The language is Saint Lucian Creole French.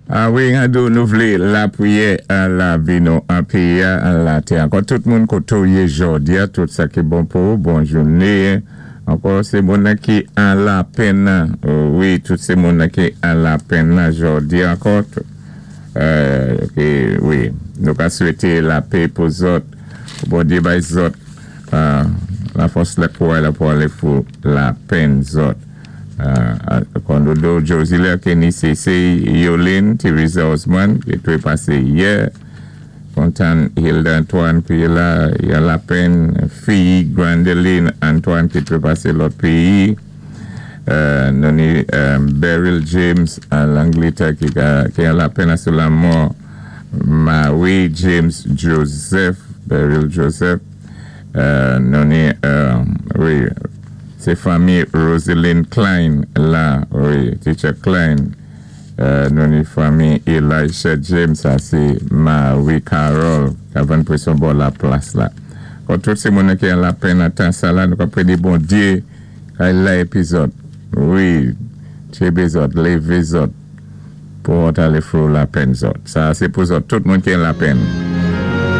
A wi, nou vlé lapriyè an lavi nou an péyi-a, an latè. Ankò tout moun koté-w yé jòdi-a, tout sa ki bon pou ou, bon jounen. Ankò sé moun ki an lapenn. Wi, tout sé moun ki an lapenn jòdi-a ankò. Wi, nou ka swété lapè pou zòt, Bondyé bay zòt lafòs lè kouray la pou alé fou lapenn zòt. Kondodo Josiler Kenny CC Yolene Teresa Osman ki té pasé yè. Kontan Hilda Antoine ki la, i an lapenn. Fi Grandeline Antoine ki té pasé lòt péyi. Nou ni Beryl James an Langlétè ki an lapenn sou lanmò Marie James Joseph, Beryl Joseph. Nou ni, wi, sé fanmi Roseline Klein la, wi, Teacher Klein. Nou ni fanmi Elisha James, sa sé Marie Carol, ka vann pwason bò laplas la. Kon tout sé moun ki an lapenn an tan sa la, nou ka prédé Bondyé kay la pi zòt. Wi, tjébé zòt, lévé zòt, pou alé fou lapenn zòt. Sa sé pou zòt, tout moun ki an lapenn.